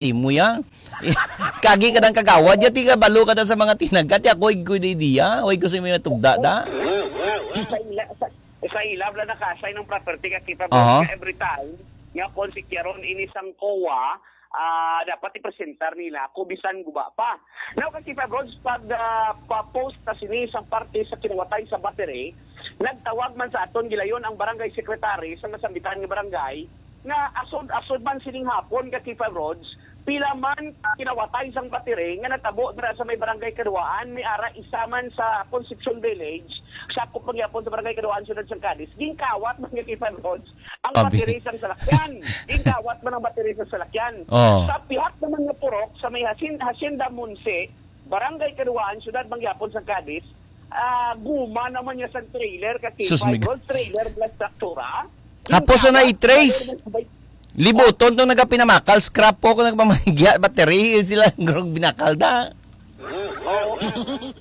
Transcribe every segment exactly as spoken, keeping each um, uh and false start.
Imo ya. Kagi ka ng kagawad ya, ti kabalo ka na sa mga tinagat ya, koy, koy, di diya, koy, gusto mo yung tugda da? Sa ila-, sa, sa ilab lang nakasay ng property ka kita, Aha. Every time nga kon si Kiaron ini sang kowa, ah, dapat ipresentar nila ko bisan guba pa. Now, ka Kipa Brods, pag, ah, pa-post na sini sa parte sa kinawatay sa battery, nagtawag man sa aton gilayon ang barangay secretary sa nasambitan nga barangay nga asod-asod man sining hapon ka Kipa Brods, pila man kinawatay sang battery nga natabo dira sa may barangay Kaduaan, may ara isa man sa Concepcion Village, sakop man gyapon sa barangay Kaduaan, siyudad sang Cadiz, ginkawat man nga Kipa Brods ang Abi. Battery sang salakyan. Ginkawat man ang battery sang salakyan. Oh. Sa pihak naman nga purok, sa may Hasin-, Hacienda Monse, Barangay Kaduaan, Siyudad Mangyapon sa Cadiz, ah, guma naman niya sa trailer, kasi Sus, mig- five-roll trailer plus traktura. Hapos na i-trace. Libuton tong nagapinamakal, scrap po kung nagpamahigya, battery, sila ang binakal da. Oo.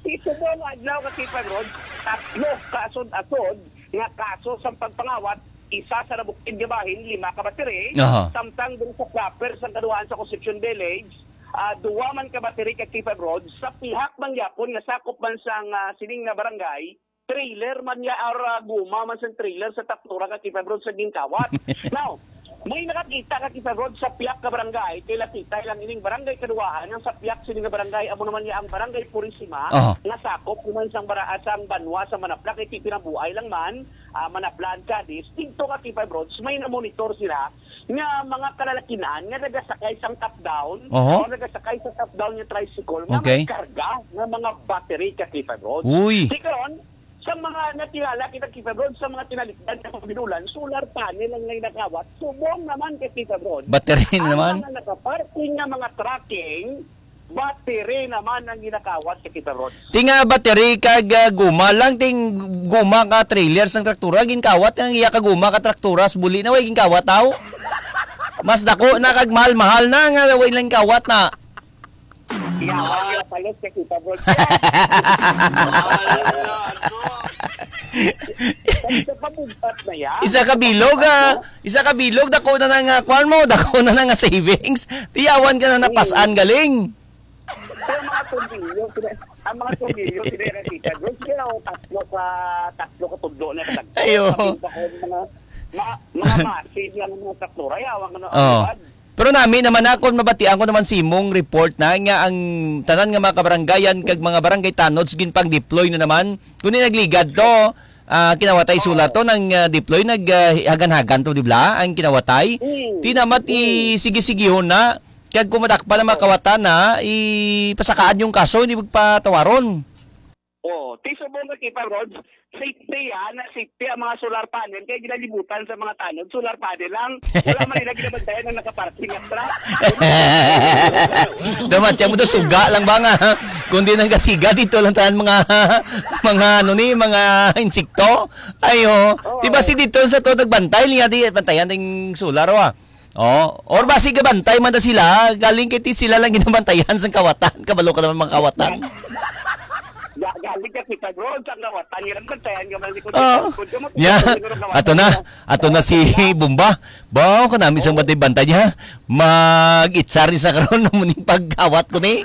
Ito po ang adlaw, kasi five-roll, tatlo kaasod-asod nga kaso sa pagpangawat, isa sa nabukid nga bahin, lima ka battery, Aha. Samtang dun sa proper sa kaduhaan sa Concepcion Village, ah, duwa man ka battery ka K five rods sa pihak man gyapon nga sakop man sang, ah, sining nga barangay, trailer man niya or, ah, guma man sang trailer sa traktura ka K five rods sa ginkawat. Now, may nakakita ka K five rods sa pihak ka barangay, kay lapitay lang ining barangay kaduwaan, ang sa pihak sini nga barangay, amo naman niya ang barangay Purisima, Aha. Nga sakop naman sang bara-, sang banwa sa Manapla, kay ti pinabuay lang man, ah, Manapla and Cadiz, dito ka K five rods, may na-monitor sila nga mga kalalakinan nga nagasakay sang top down Oho. O nagasakay sa top down nga tricycle nga Okay. May karga nga mga battery ka K five rods. Uy. Di karon, sa mga natingala kita K five rods, sa mga tinalikdan nga mga binulan, solar panel ang may nakawat. Subong naman ka K five rods. Battery Ang naman. Mga nakaparking nga mga trucking, battery naman ang ginakawat sa K five rods. Ti nga battery kag, ah, guma lang, ting guma ka trailer sang traktura, ginkawat ang iya ka guma ka traktura, sa buli na way ginkawat, aw. Mas dako na kag mahal-mahal na nga way lang kawat na. Yawa, yawa, palos ka kita, bro. Isa ka bilog, ah. Isa ka bilog, dako na na nga, kwan mo, dako na na nga savings. Tiyawan ka na napasan galing. Pero mga tungkilyo, sila, ang mga tungkilyo, sila yung nakita, bro. Sila ang tatlo ka, tatlo ka tudlo na katagpo. Ayo. Kapit pa ko, mga, mga, mga massive lang ang mga traktura. Yawa nga na, Oh. Ano, Pero nami naman na, kung mabatian ko naman si imong report na nga ang tanan nga mga kabarangayan kag mga barangay tanods ginpang-deploy na naman. Kundi nagligad to, ah, kinawatay Oo. Solar to, nang, ah, deploy, nag, ah, hagan-hagan to, di ba? Ang kinawatay. Mm. Di naman Mm. i-sige-sigihon na, kag kung madakpan ang mga Oo. Kawatan na, ipasakaan yung kaso, hindi magpatawaron. Oo, ti subong ka Kipa Rods, safety, ah, na safety ang mga solar panel, kaya ginalibutan sa mga tanod, solar panel lang. Wala man nila ginabantayan ang nakaparking at truck. Dapat siya mo to, suga lang ba nga? Kundi nang kasiga dito lang tanan mga, mga ano ni, mga insekto. Ayo, Oo. Di ba si dito sa to nagbantay niya, di bantayan ding solar, wa? Oh, or basi gabantay man na sila, galing kay ti sila lang ginabantayan sa kawatan, kabalo ka naman mga kawatan. Ga-, galing ka kita, bro, sa kawatan, nga nagbantayan ka man likod Oh. Likod ka mo, Yeah. Siguro kawatan Ato na, ka. Ato na si Bomba. Baw ka namin sa Oh. Bantay-bantay niya. Mag-itsar ni sa karon na muning pagkawat ko ni.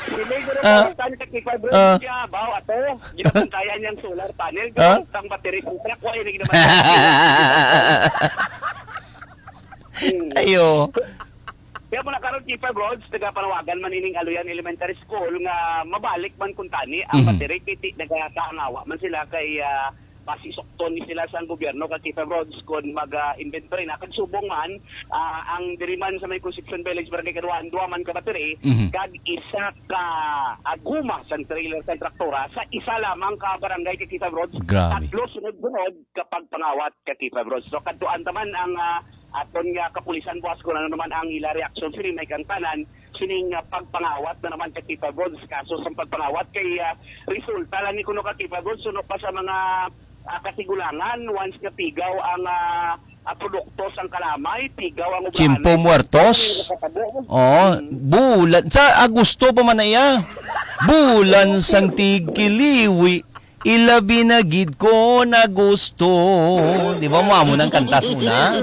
Siguro Ah. Kawatan ka kita, bro, Ah. siya, baw, ato. Ginabantayan niyang solar panel, Ah? Ang battery sa truck, wala na ginabantayan. Hmm. Ayo. Kaya muna karon, Kipa Broads, nagapanawagan man ining Aloyan Elementary School nga mabalik man kuntani ang Hmm. battery, kay ti-, nagakaangawa man sila kay, ah, pasisukton ni sila sa gobyerno ka Kipa Broads kung mag, ah, inventory na. Kag subong man, ah, ang diri man sa may Concepcion Village, Barangay Kaduaan, duwa man ka battery, Mhm. kag isa ka, ah, guma sang trailer sa traktora sa isa lamang ka barangay ka Kipa Broads. Grabe. Tatlo sunod-sunod kapag pangawat ka Kipa Broads. So, kadtuan taman ang, ah, aton nga kapulisan buwas kung ano naman ang ila reaksyon. Sini may kang tanan, sining, ah, pagpangawat na naman ka Kipa Broads. Kaso sa pagpangawat kay, ah, resulta lang ni kuno ka Kipa Broads. Suno pa sa mga, ah, kasigulangan, once nga pigaw ang, ah, ah, produkto sang kalamay, pigaw ang obra Tiyempo anay. Muertos? Nakatabo. Oo, Hmm. Bulan. Sa Agosto pa man na iya. Bulan sang tigkiliwi, ilabi na gid ko na gusto. Di ba mo amo nang kantas mo na?